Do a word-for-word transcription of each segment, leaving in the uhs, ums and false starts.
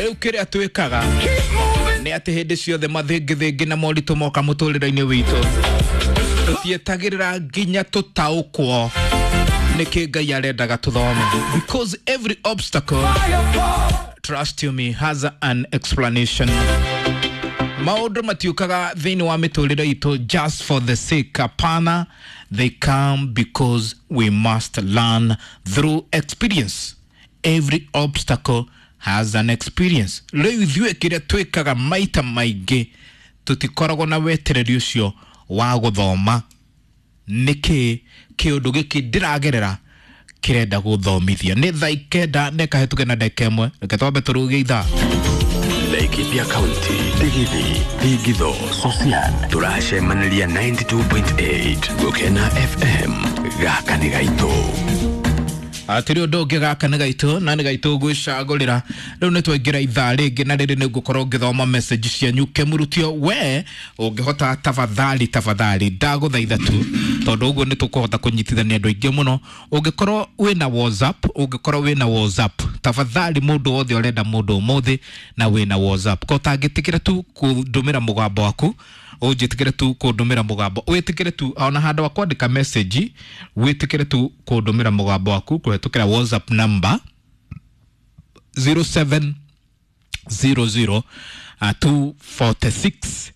Rĩu kĩrĩa twĩkaga nĩ atĩ hĩndĩ ciothe mathĩngĩthĩngĩ na moritũ moka mũtũrĩre-inĩ witũ, tũtietagĩrĩra nginya tũtaũkwo nĩkĩ Ngai arendaga tũthome, because every obstacle, trust you me, has an explanation. Maũndũ matiũkaga thĩinĩ wa mĩtũrĩre itũ just for the sake. Hapana, they come because we must learn through experience. Every obstacle has an experience. Rĩu ithuĩ kĩrĩa twĩkaga maita maingĩ, tũtikoragwo na wetereri ũcio wa gũthoma nĩkĩ kĩũndũ gĩkĩ ndĩragerera kĩrenda gũthomithia. Nĩ thaa ikenda na ĩkahĩtũke na ndagĩka ĩmwe. Reke twambe tũrũgie ithaa. Laikipia County, Digithi, Digitho, Sosian, tũracemanĩria ninety two point eight Gũkena F M. Gaka nĩ gaitũ. Atĩrĩ ũndũ ũngĩ, gaka nĩ gaitũ na nĩ gaitũ gwĩcagũrĩra. Rĩu nĩ twaingĩra ithaa rĩngĩ na rĩrĩ nĩ ngũkorwo ngĩthoma message cianyu. Kĩmurutio we ũngĩhota, tafadhali tafadhali ndagũthaitha tu, tondũ ũguo nĩ tũkũhota kũnyitithania andũ aingĩ mũno. Ũngĩkorwo wĩna WhatsApp, ũngĩkorwo wĩna WhatsApp, tafadhali mũndũ wothe ũrenda mũndũ ũmũthĩ na wĩna WhatsApp, ko ũtangĩtĩkĩra tu kũndũmĩra mũgambo waku, ũnjĩtĩkĩre tu kũndũmĩra mũgambo, wĩtĩkĩre tu ona handũ wa kwandĩka message, wĩtĩkĩre tu kũndũmĩra mũgambo waku kũhetũkĩra WhatsApp number zero seven zero zero, uh, two forty six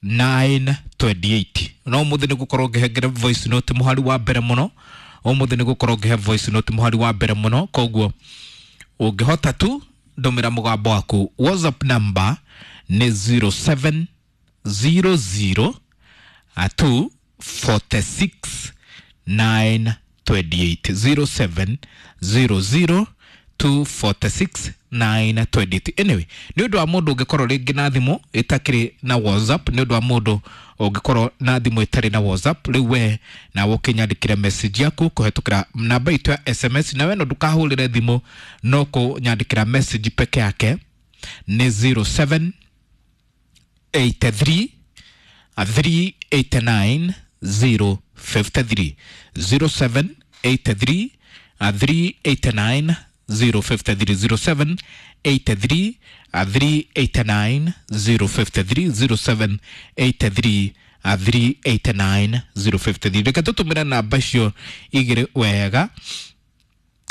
nine twenty eight. No ũmũthĩ nĩ ngũkorwo ngĩhengere voice note mũhari wa mbere mũno. Ũmũthĩ nĩ ngũkorwo ngĩhe voice note mũhari wa mbere mũno, koguo ũngĩhota tu ndũmĩra mũgambo waku. WhatsApp number nĩ zero seven zero zero, uh, two forty six nine twenty eight. Zero seven zero zero two forty six nine twenty eight. Anyway, nĩ ũndũ wa mũndũ ũngĩkorwo rĩngĩ na thimũ ĩtakĩrĩ na WhatsApp, nĩ ũndũ wa mũndũ ũngĩkorwo na thimũ ĩtarĩ na WhatsApp, rĩu we nawe ũkĩnyandĩkĩre message yaku kũhetũkĩra namba itũ ya S M S, na we no ndũkahũrĩre thimũ, no kũnyandĩkĩra message peke yake nĩ zero seven eight three, three eight nine zero fifty three. Zero seven eight three, three eight nine zero fifty three. Zero seven eight three, three eight nine zero fifty three. Zero seven eight three, three eight nine zero fifty three. Reke tũtũmĩre namba icio igĩrĩ wega.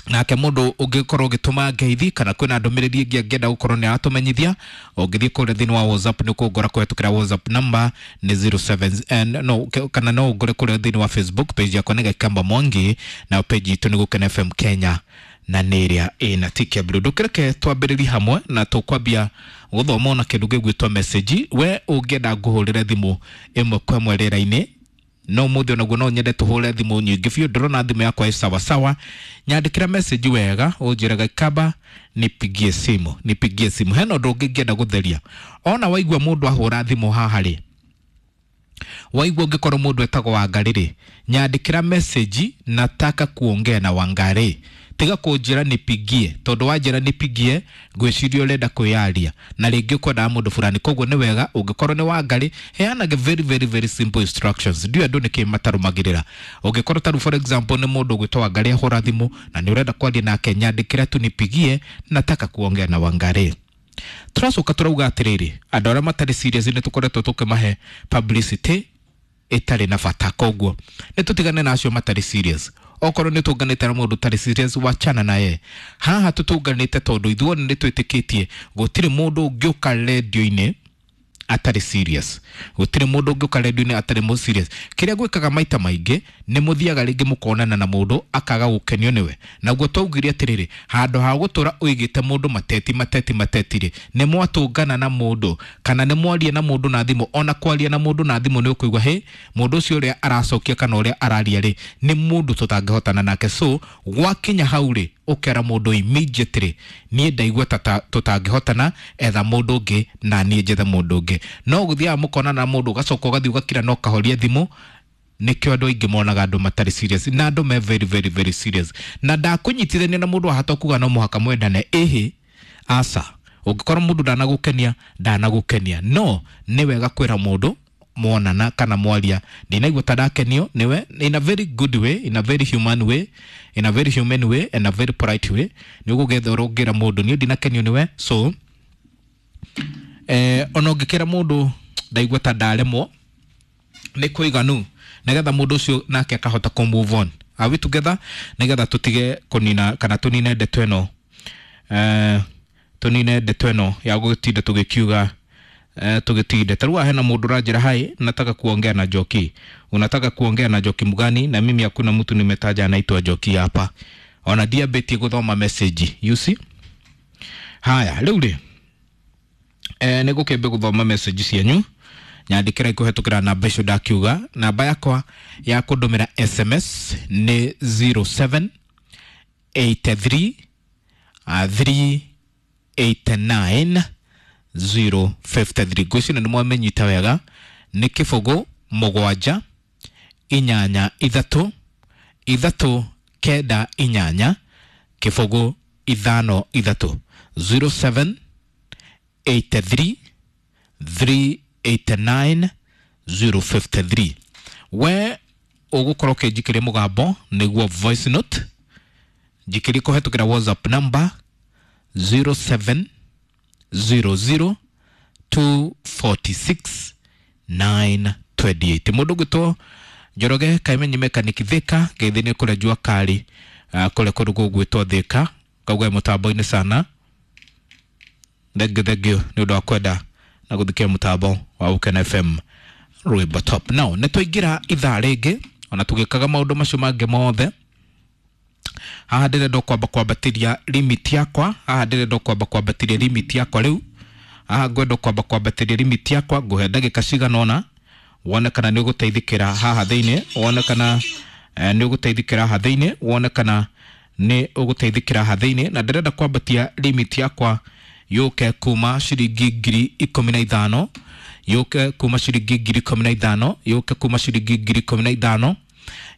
Nake mũndũ ũngĩkorwo ũgĩtũma ngeithi kana kwĩna ndũmĩrĩri ĩngĩ angĩenda gũkorwo nĩ aratũmenyithia, ũngĩthiĩ kũrĩa thĩinĩ wa WhatsApp nĩ ũkũngora kũhetũkĩra WhatsApp number nĩ zero seven, eh, no, ke-, kana no ũngore kũrĩa thĩinĩ wa Facebook page yakwa nĩ Gikamba Mwangi, na page itũ nĩ Gũkena F M Kenya na nĩ ĩrĩa ĩna tick ya blue. Ndũkĩreke twambĩrĩrie hamwe na tũkwambia gũthoma ona kĩndũ gĩgwĩtwo message. We ũngĩenda ngũhũrĩre thimũ ĩmwe kwa ĩmwe rĩera-inĩ, no mũthĩ onaguo no nyende tũhũre thimũ nyingĩ biũ. Ndĩrona thimũ yakwa ĩ sawa sawa. Nyandĩkĩra message wega, ũnjĩre Gikamba nipigie simu, nipigie simu. Hena ũndũ ũngĩ ngĩenda gũtheria. Ona waigua mũndũ ahũra thimũ haha rĩ, waigua ũngĩkorwo mũndũ etagwo Wangarĩ rĩ, nyandĩkĩra message nataka kuongea na Wangarĩ. Tiga kũnjĩra nipigie, tondũ wanjĩra nipigie ngwĩciria ũrenda kwĩyaria na rĩngĩ ũkwendaga mũndũ fulani. Koguo nĩ wega ũngĩkorwo nĩ Wangarĩ, heanage very very very simple instructions. Ndiũĩ andũ nĩkĩ matarũmagĩrĩra. Ũngĩkorwo ta rĩu for example nĩ mũndũ ũgwĩtwo Wangarĩ ahũra thimũ na nĩ ũrenda kwaria nake, nyandĩkĩra tu nipigie nataka kuongea na Wangarĩ. Tũracoka tũrauga atĩrĩrĩ, andũ arĩa matarĩ serious nĩ tũkoretwo tũkĩmahe publicity ĩtarĩ na bata, koguo nĩ tũtigane na acio matarĩ serious. Okorwo nĩ tũnganĩte na mũndũ ũtarĩ serious, wachana naye. Haha tũtũnganĩte tondũ ithuothe nĩ twĩtĩkĩtie gũtirĩ mũndũ ũngĩũka redio-inĩ atarĩ serious. Gũtirĩ mũndũ ũngĩũka redio-inĩ atarĩ mũ serious. Kĩrĩa gwĩkaga maita maingĩ nĩ mũthiaga rĩngĩ mũkonana na mũndũ akaga gũkenio nĩwe. Naguo twaugire atĩrĩrĩ, handũ ha gũtũra ũigĩte mũndũ mateti mateti mateti rĩ, nĩ mwatũngana na mũndũ kana nĩ mwaria na mũndũ na thimũ. Ona kwaria na mũndũ na thimũ nĩ ũkũigua hĩ, mũndũ ũcio ũrĩa aracokia kana ũrĩa araria rĩ, nĩ mũndũ tũtangĩhotana nake. So gwakinya hau rĩ, ũkera mũndũ immediately, niĩ ndaigua ta ta tũtangĩhotana, etha mũndũ ũngĩ na niĩ njethe mũndũ ũngĩ. No gũthiaga mũkonana na mũndũ ũgacoka ũgathiĩ ũgakira na ũkahoria thimũ. Nĩkĩo andũ aingĩ monaga andũ matarĩ serious, na andũ me very very very serious. Na ndakũnyitithania na mũndũ ahata kuga no mũhaka mwendane, ĩhĩ aca. Ũngĩkorwo mũndũ ndanagũkenia, ndanagũkenia. No nĩ wega kwĩra mũndũ mwonana kana mwaria, ndinaigua ta ndakenio niwe, in a very good way, in a very human way, in a very human way and a very polite way. Nĩ ũgũgetha ũrũngĩra mũndũ, niĩ ndinakenio niwe, so Eh, ona ũngĩkĩra mũndũ ndaigua ta ndaremwo nĩ kũiganu, nĩgetha mũndũ ũcio nake akahota kũ move on. Are we together? Nĩgetha tũtige kũnina kana tũnine ndeto ĩno, eh, tũnine ndeto ĩno ya gũtinda tũgĩkiuga, eh, tũgĩtinde ta rĩu hena mũndũ ũranjĩra, "Hai, nataka kuongea na Njoki." Unataka kuongea na Njoki mgani? Na mimi hakuna mtu nimetaja anaitwa Njoki hapa. Ona ndiambĩtie gũthoma message, you see. Haya, rĩu rĩ, eh, nĩ ngũkĩambia gũthoma message cianyu. Nyandĩkĩra kũhetũkĩra namba icio ndakiuga. Namba yakwa ya kũndũmĩra S M S nĩ zero seven eight three three eight nine zero five three. Ngwĩciria nĩ mwamenyita wega, nĩ kĩbũgũ mũgwanja inyanya ithatũ ithatũ kenda inyanya kĩbũgũ ithano ithatũ, zero seven eight three three eight nine zero five three. We ũgũkorwo ũkĩnjikĩria mũgambo nĩguo voice note, njikĩrie kũhetũkĩra WhatsApp number zero seven zero zero two four six nine two eight. Mũndũ ũgwĩtwo Njoroge Kaimenyi Mechanic Thika, ngeithi nĩ kũrĩa jua kali, uh, kũrĩa kũndũ gũgwĩtwo Thika, kauga mũtambo-inĩ sana. Thengiũ, thengiũ nĩ ũndũ wa kwenda na gũthikia mũtambo wa Gũkena F M, rwĩmbo top. Now nĩ twaingĩra ithaa rĩngĩ, ona tũgĩkaga maũndũ macio mangĩ mothe. Haha ndĩrenda kwamba kwambatĩria limit yakwa. Haha ndĩrenda kwamba kwambatĩria limit yakwa. Rĩu haha ngwenda kwamba kwambatĩria limit yakwa. Ngũhe ndagĩka cigana ũna wone kana nĩ ũgũteithĩkĩra haha thĩinĩ, wone kana eh, nĩ ũgũteithĩkĩra haha thĩinĩ, wone kana nĩ ũgũteithĩkĩra haha thĩinĩ. Na ndĩrenda kwambatia limit yakwa yũke kuma ciringi ngiri ikũmi na ithano, yũke kuma ciringi ngiri ikũmi na ithano, yũke kuma ciringi ngiri ikũmi na ithano,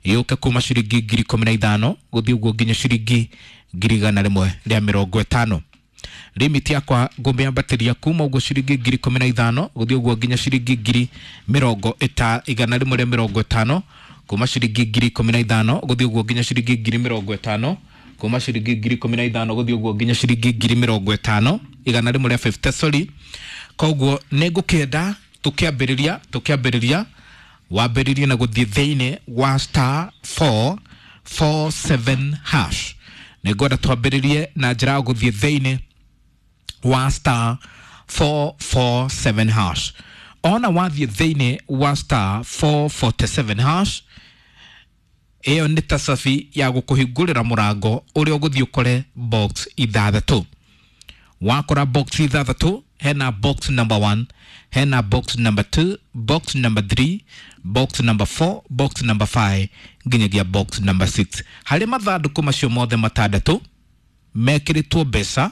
yũke kuma ciringi ngiri ikũmi na ithano gũthiĩ ũguo nginya ciringi ngiri igana rĩmwe rĩa mĩrongo ĩtano. Limit yakwa ngũmĩambatĩria kuma ũguo ciringi ngiri ikũmi na ithano gũthiĩ ũguo nginya ciringi ngiri mĩrongo ĩta igana rĩmwe rĩa mĩrongo ĩtano, kuma ciringi ngiri ikũmi na ithano gũthiĩ ũguo nginya ciringi ngiri mĩrongo ĩtano, kuma ciringi ngiri ikũmi na ithano gũthiĩ ũguo nginya ciringi ngiri mĩrongo ĩtano, igana rĩmwe rĩa fifty, sorry. Koguo nĩ ngũkĩenda tũkĩambĩrĩria tũkĩambĩrĩria wambĩrĩrie na gũthiĩ thĩinĩ wa star four four seven hash. Nĩ ngwenda twambĩrĩrie na njĩra ya gũthiĩ thĩinĩ wa star four four seven hash. Ona wathiĩ thĩinĩ wa star four forty-seven hash, ĩyo nĩ ta cabi ya gũkũhingũrĩra mũrango ũrĩa ũgũthiĩ ũkore box ithathatũ. Wakora box ithathatũ, hena box number one, hena box number two, box number three, box number four, box number five nginyagia box number six. Harĩ mathandũkũ macio mothe matandatũ mekĩrĩtwo mbeca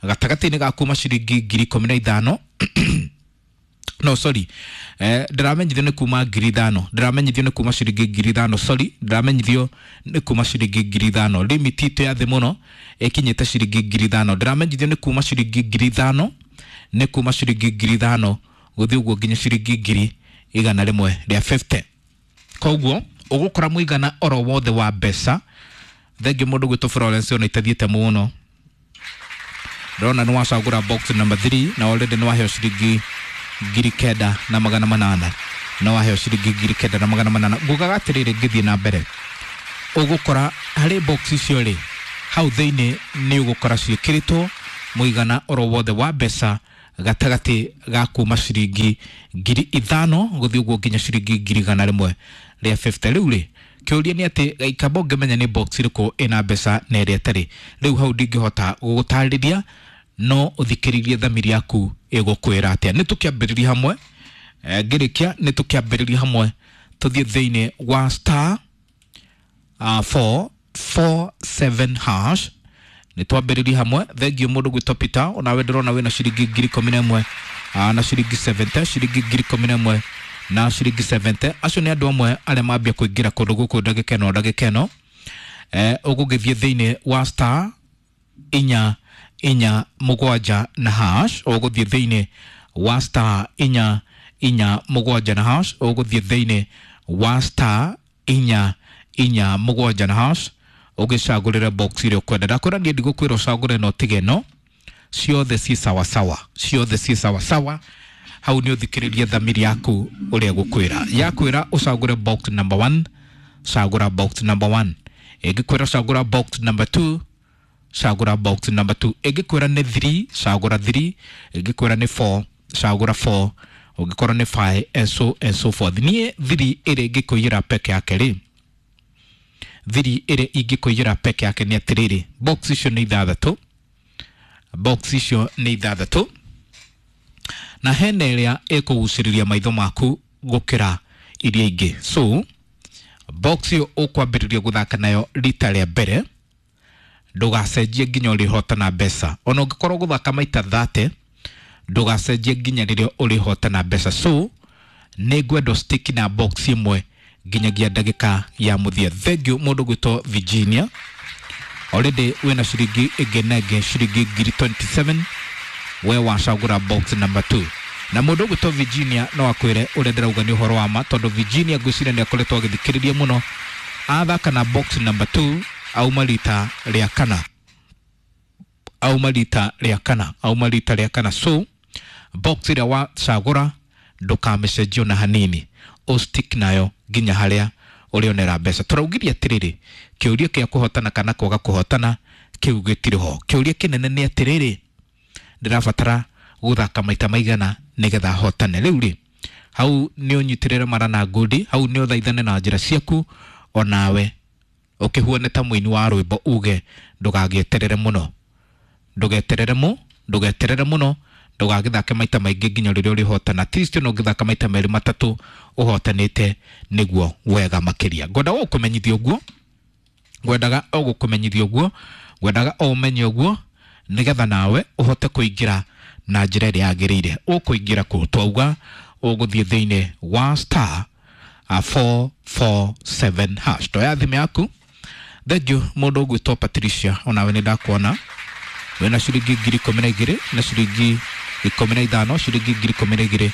gatagatĩ-inĩ ga kuma ciringi ngiri ikũmi na ithano, no, sorry, eh, ndĩramenyithio nĩ kuma ngiri ithano, ndĩramenyithio nĩ kuma ciringi ngiri ithano, sorry, ndĩramenyithio nĩ kuma ciringi ngiri ithano. Limit itũ ya thĩ mũno ĩkinyĩte ciringi ngiri ithano. Ndĩramenyithio nĩ kuma ciringi ngiri ithano, nĩ kuma ciringi ngiri ithano gũthiĩ ũguo nginya ciringi ngiri igana rĩmwe rĩa fifty. Koguo ũgũkora mũigana oro wothe wa mbeca. Thengiũ mũndũ gwĩtwo Florence, ona itathiĩte mũno. Ndĩrona nĩ wacagũra box number three na already nĩ waheo ciringi ngiri kenda na magana manana, na waheo ciringi ngiri kenda na magana manana. Ngugaga atĩrĩrĩ, ngĩthiĩ na mbere, ũgũkora harĩ box icio rĩ, hau thĩinĩ nĩ ũgũkora ciĩkĩrĩtwo mũigana oro wothe wa mbeca gatagatĩ ga kuma ciringi ngiri ithano gũthiĩ ũguo nginya ciringi ngiri igana rĩmwe rĩa fifty. Rĩu rĩ, kĩũria nĩ atĩ gaikamba ũngĩmenya nĩ box ĩrĩkũ ĩna mbeca na ĩrĩa ĩtarĩ. Rĩu hau ndingĩhota gũgũtarĩria, no ũthikĩrĩrie thamiri yaku ĩgũkwĩra atĩa. Nĩ tũkĩambĩrĩria hamwe. Eh, ngĩrĩkia nĩ tũkĩambĩrĩria hamwe tũthiĩ thĩinĩ wa star uh, four four seven hash. Nĩ twambĩrĩrie hamwe. Thengiũ mũndũ gwĩtwo Peter, onawe ndĩrona wĩna ciringi ngiri ikũmi na ĩmwe uh, na ciringi seventy, ciringi ngiri ikũmi na ĩmwe na ciringi seventy. Acio nĩ andũ amwe arĩa mambia kũingĩra kũndũ gũkũ ndagĩka ĩno ndagĩka ĩno. eh, ũgũgĩthiĩ thĩinĩ wa star inya inya mũgwanja na hash. Ũgũthiĩ thĩinĩ wa star inya inya mũgwanja na hash. Ũgũthiĩ thĩinĩ wa star inya inya mũgwanja na hash, ũgĩcagũrĩre box ĩrĩa ũkwenda. Ndakwĩra niĩ ndigũkwĩra ũcagũre no tige no. Ciothe ci sawasawa, ciothe ci sawasawa. Hau nĩ ũthikĩrĩrie thamiri yaku ũrĩa gũkwĩra. Yakwĩra ũcagũre box number one, cagũra box number one. Ĩngĩkwĩra cagũra box number two, cagũra box number two. Ĩngĩkwĩra nĩ three, cagũra three. Ĩngĩkwĩra nĩ four, cagũra four. Ũngĩkorwo nĩ five, and so and so forth. Niĩ three ĩrĩa ĩngĩkũiyĩra peke yake rĩ, three ĩrĩa ingĩkũiyĩra peke yake nĩ atĩrĩrĩ, box icio nĩ ithathatũ, box icio nĩ ithathatũ, na hena ĩrĩa ĩkũgucĩrĩria maitho maku gũkĩra iria ingĩ. So box ĩyo ũkwambĩrĩria gũthaka nayo rita rĩa mbere, ndũgacenjie nginya ũrĩhotana mbeca. Ona ũngĩkorwo gũthaka maita thate, ndũgacenjie nginya rĩrĩa ũrĩhotana mbeca. So nĩ ngwenda stick na box ĩmwe nginyagia ndagĩka ya mũthia. Thank you mũndũ gwĩtwo Virginia. Already wĩna ciringi ĩngĩ na ĩngĩ ciringi ngiri twenty-seven, we wacagũra box number two. Na mũndũ ũgwĩtwo Virginia no akwĩre ũrĩa ndĩrauga nĩ ũhoro wa ma, tondũ Virginia ngwĩciria nĩ akoretwo agĩthikĩrĩria mũno. Athaka na box number two auma rita rĩa kana, auma rita rĩa kana, auma rita rĩa kana. So box ĩrĩa wacagũra ndũkamĩcenjie ona hanini, ũstick nayo nginya harĩa ũrĩonera mbeca. Tũraugirie atĩrĩrĩ, kĩũria kĩa kũhotana kana kwaga kũhotana kĩu gĩtirĩ ho. Kĩũria kĩnene nĩ atĩrĩrĩ, ndĩrabatara gũthaka maita maigana nĩgetha hotane. Rĩu rĩ, hau nĩ ũnyitĩrĩre mara na ngundi, hau nĩ ũthaithane na njĩra ciaku, onawe ũkĩhuane ta mũini wa rwĩmbo uge ndũgagĩeterere mũno, ndũgeterere mũ ndũgeterere mũno, ndũgagĩthake maita maingĩ nginya rĩrĩa ũrĩhotana. At least no ũngĩthaka maita merĩ matatũ ũhotanĩte nĩguo wega makĩria. Ngwendaga o gũkũmenyithia ũguo, ngwendaga o gũkũmenyithia ũguo, ngwendaga o ũmenye ũguo nĩgetha nawe ũhote kũingĩra na njĩra ĩrĩa yagĩrĩire. Ũkũingĩra kũ? Twauga ũgũthiĩ thĩinĩ wa star four four seven hash. Toya thimũ yaku. Thank you mũndũ ũgwĩtwo Patricia, onawe nĩ ndakuona wĩna ciringi ngiri ikũmi na igĩrĩ na ciringi ikũmi na ithano, ciringi ngiri ikũmi na igĩrĩ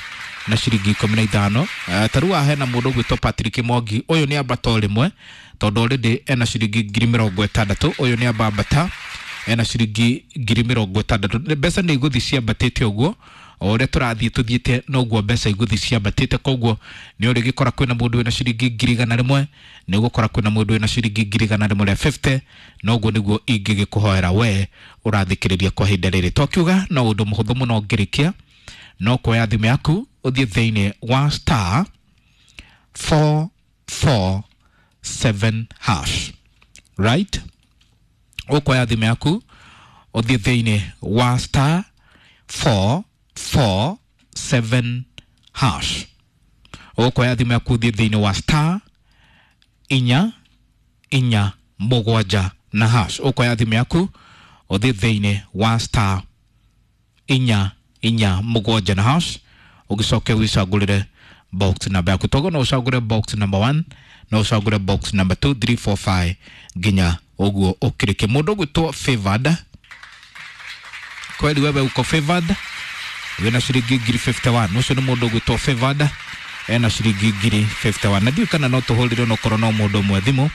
na ciringi ikũmi na ithano. Uh, ta rĩu haha hena mũndũ ũgwĩtwo Patrick Mwangi, ũyũ nĩ ambata o rĩmwe tondũ already ena ciringi ngiri mĩrongo ĩtandatũ. Ũyũ nĩ amba ambata ena ciringi ngiri mĩrongo ĩtandatũ. Mbeca nĩ igũthiĩ ciambatĩte ũguo o ũrĩa tũrathiĩ tũthiĩte noguo mbeca igũthiĩ ciambatĩte. Koguo nĩ ũrĩgĩkora kwĩna mũndũ wĩna ciringi ngiri igana rĩmwe, nĩ ũgũkora kwĩna mũndũ wĩna ciringi ngiri igana rĩmwe rĩa fifty. Noguo nĩguo ingĩgĩkũhoera we ũrathikĩrĩria kwa ihinda rĩrĩ. Twakiuga no ũndũ mũhũthũ mũno ngĩrĩkia, no kuoya thimũ yaku ũthiĩ thĩinĩ wa star four four seven hash, right? Ũkuoya thimũ yaku ũthiĩ thĩinĩ wa star four four seven hash. Ũkuoya thimũ yaku ũthiĩ thĩinĩ wa star inya inya mũgwanja na hash. Ũkuoya thimũ yaku ũthiĩ thĩinĩ wa star inya inya mũgwanja na hash, ũgĩcoke wĩcagũrĩre box number yaku. Toguo no ũcagũre box number one, no ũcagũre box number two, three, four, five nginya ũguo ũkĩrĩke. Mũndũ ũgwĩtwo Favored, kweli wewe uko favored, wĩna ciringi ngiri fifty-one. Ũcio nĩ mũndũ ũgwĩtwo Favored ena ciringi ngiri fifty-one. Na ndiũĩ kana no tũhũrĩre onokorwo no mũndũ ũmwe thimũ.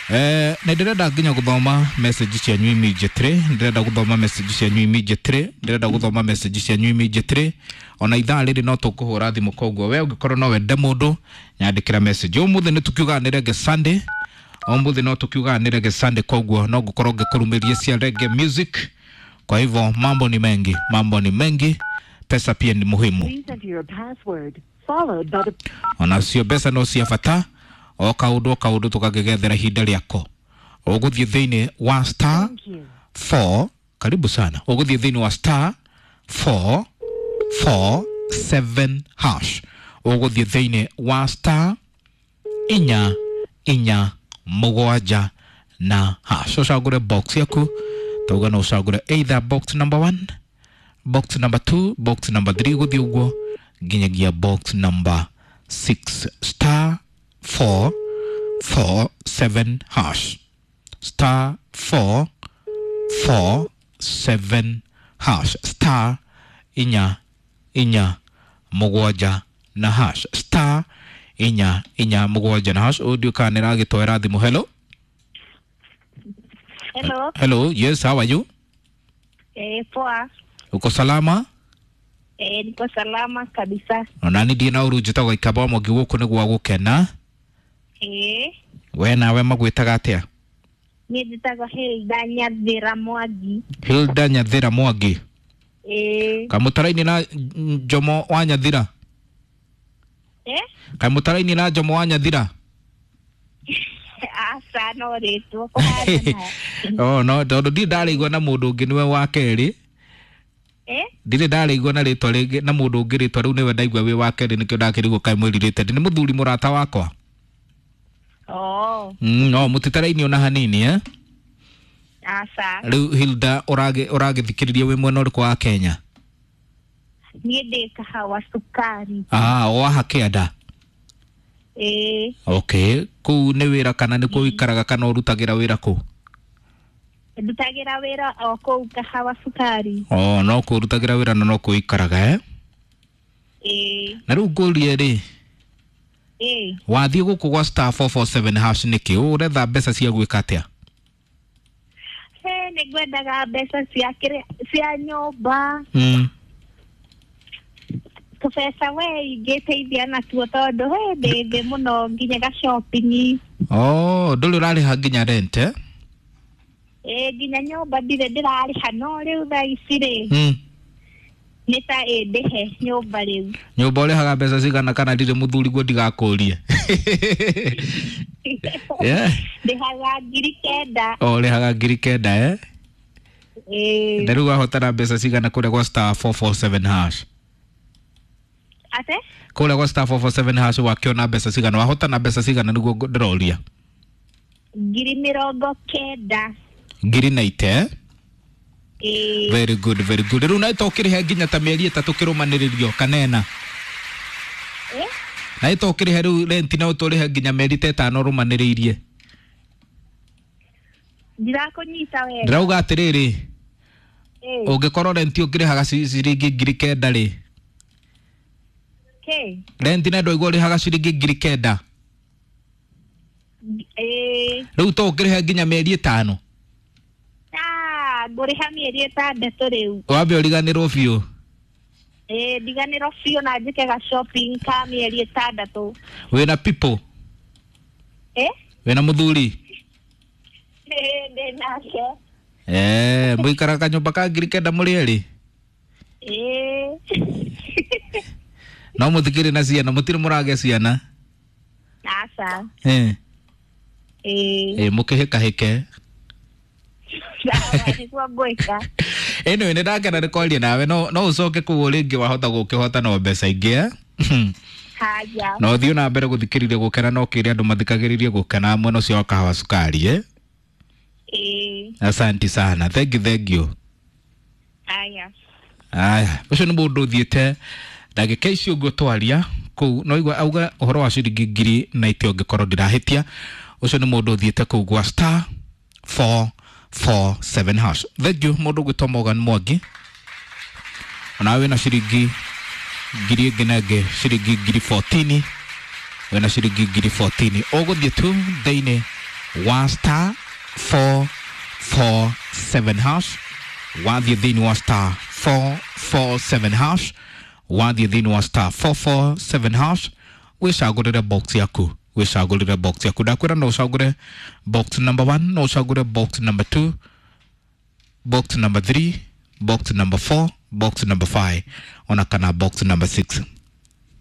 Eh, nĩ ndĩrenda nginya gũthoma message cianyu immediately, ndĩrenda gũthoma message cianyu immediately, ndĩrenda gũthoma message cianyu immediately. Ona ithaa rĩrĩ no tũkũhũra thimũ, koguo we ũngĩkorwo no wende mũndũ nyandĩkĩra message. Ũmũthĩ nĩ tũkiugaga nĩ Reggae Sunday, ũmũthĩ no tũkiugaga nĩ Reggae Sunday, koguo no ngũkorwo ngĩkũrumĩria cia reggae music. Kwa hivyo mambo ni mengi, mambo ni mengi, pesa pia ni muhimu. Please enter your password followed by the Ona cio mbeca no cia bata, o kaũndũ o kaũndũ tũkagĩgethera ihinda rĩako. Ũgũthiĩ thĩinĩ wa star Thank you. four, karibu sana. Ũgũthiĩ thĩinĩ wa star four four seven hash. Ũgũthiĩ thĩinĩ wa star inya inya mũgwanja na hash. Ũcagũre box yaku, tauga no ũcagũre either box number one, box number two, box number three, gũthiĩ ũguo nginyagia box number six. Star four four seven hash, star four four seven hash, star inya inya mũgwanja na hash, star inya inya mũgwanja na hash. Ũyũ ndiũĩ kana nĩ ĩragĩtwara thimũ. Hello. Hello, Hello, yes, how are you? Eh, poa. Uko salama? Eh, niko salama kabisa. Ona ni ndiĩ na ũru njĩtagwo Ikamba wa Mwangi gũkũ nĩ gwa gũkena. Eh, We nawe magwĩtaga atĩa? Niĩ njĩtagwo Hilda Nyathira Mwangi. Hilda Nyathira Mwangi. Eh, Kamũtara-inĩ na Njomo wa Nyathira? Eh? Kamũtara-inĩ na Njomo wa Nyathira? Aca no rĩtwa kũhana. Oh no, tondũ ndirĩ ndarĩigua na mũndũ ũngĩ nĩwe wa kerĩ. Eh? Ndirĩ ndarĩigua na rĩtwa rĩngĩ na mũndũ ũngĩ rĩtwa rĩu nĩwe ndaigua wĩ wa kerĩ nĩkĩo ndakĩrigwo kaĩ mwĩrirĩte. Ndĩ nĩ mũthuri mũrata wakwa. Oh. Mm, no mũtitaraini ona hanini eh? Aca. Rĩu Hilda ũragĩ ũragĩthikĩrĩria wĩ mwena ũrĩkũ wa Kenya? Niĩ ndĩ Kahawa Cukari. Ah, waha kĩanda. Eh, Okay, kũu nĩ wĩra kana nĩ kuo ũikaraga kana ũrutagĩra wĩra kũ? Ndutagĩra wĩra o kũu Kahawa Cukari. Oh, no kũu ũrutagĩra wĩra na no kũu ũikaraga eh? Eh, Na rĩu ngũrie rĩ, eh, wathiĩ gũkũ gwa star four four seven hash nĩkĩ? Ũretha mbeca cia gwĩka atĩa? He, nĩ ngwendaga mbeca cia kĩrĩa cia nyũmba. Mm. Tũbeca we ingĩteithia natuo tondũ he ndĩ thĩ mũno nginya ga shopping. Oh, ndũrĩ ũrarĩha nginya rent eh? Ĩ nginya nyũmba ndirĩ ndĩrarĩha no rĩu thaa ici rĩ Mm. nĩ ta ĩndĩhe nyũmba rĩu. Nyũmba ũrĩhaga mbeca cigana kana ndirĩ mũthuri guo ndigakũrie? Yeah. Ndĩhaga ngiri kenda. Oh, ũrĩhaga ngiri kenda eh? Ĩ. Na rĩu wahotana mbeca cigana kũrĩa gwa star four four seven hash? Ate? Kũrĩa gwa star four four seven hash wakĩona mbeca cigana? Wahotana mbeca cigana nĩguo ndĩroria? Ngiri mĩrongo kenda. Ngiri na ite eh? Ĩ. Very good, very good. Rĩu na ĩtokĩrĩhe nginya ta mĩeri ĩtatũ kĩrũmanĩrĩrio kana ĩna? Ĩ? Na ĩtokĩrĩhe rĩu renti na ũtũrĩhe nginya mĩeri ta ĩtano ũrũmanĩrĩirie. Ndirakũnyita wega. Ndĩrauga atĩrĩrĩ, Ĩ. ũngĩkorwo renti ũngĩrĩhaga ciringi ngiri kenda rĩ, Kĩ? renti na ndwaigua ũrĩhaga ciringi ngiri kenda. Ĩ. Rĩu to ũkĩrĩhe nginya mĩeri ĩtano. Ah, ngũrĩha mĩeri ĩtandatũ rĩu. Wambe ũriganĩrwo biũ. Ĩ, ndiganĩrwo biũ na njĩke ga shopping ka mĩeri ĩtandatũ. Wĩna people? Ĩ? Wĩna mũthuri? Ĩ, ndĩ nake. Eh, mũikaraga kanyũmba ka ngiri kenda mũrĩ erĩ? Ĩ. No mũtikĩrĩ na ciana, mũtirĩ mũragĩa ciana? Aca. Eh. Ĩ. Ĩ, mũkĩhĩkahĩke. Sawa, nĩguo ngwĩka. Anyway, nĩ ndakena nĩ kwaria nawe, no no ũcoke kũu rĩngĩ wahota gũkĩhota no mbeca ingĩ eh? Haja. Na ũthiĩ na mbere gũthikĩrĩria gũkena no kĩrĩa andũ mathikagĩrĩrie gũkena mwena ũcio wa Kahawa Cukari eh? Ĩ. Asante sana. Thank you, thank you. Aya. Aya, ũcio nĩ mũndũ ũthiĩte ndagĩka icio ũguo twaria kũu no igua auga ũhoro wa ciringi ngiri na itĩ ũngĩkorwo ndirahĩtia. Ũcio nĩ mũndũ ũthiĩte kũu gwa star four four seven hash. Thank you mũndũ ũgwĩtwo Morgan Mwangi. Ona wĩna ciringi ngiri ĩngĩ na ĩngĩ ciringi ngiri fourteen. Wĩna ciringi ngiri fourteen. Ũgũthiĩ tu thĩinĩ wa star four four seven hash. Wathiĩ thĩinĩ wa star four four seven hash. Wathiĩ thĩinĩ wa star four four seven hash. Wĩcagũrĩre box yaku. Wĩcagũrĩre box yaku. Ndakwĩra no ũcagũre box number one, no ũcagũre box number two, box number three, box number four, box number five, ona kana box number six.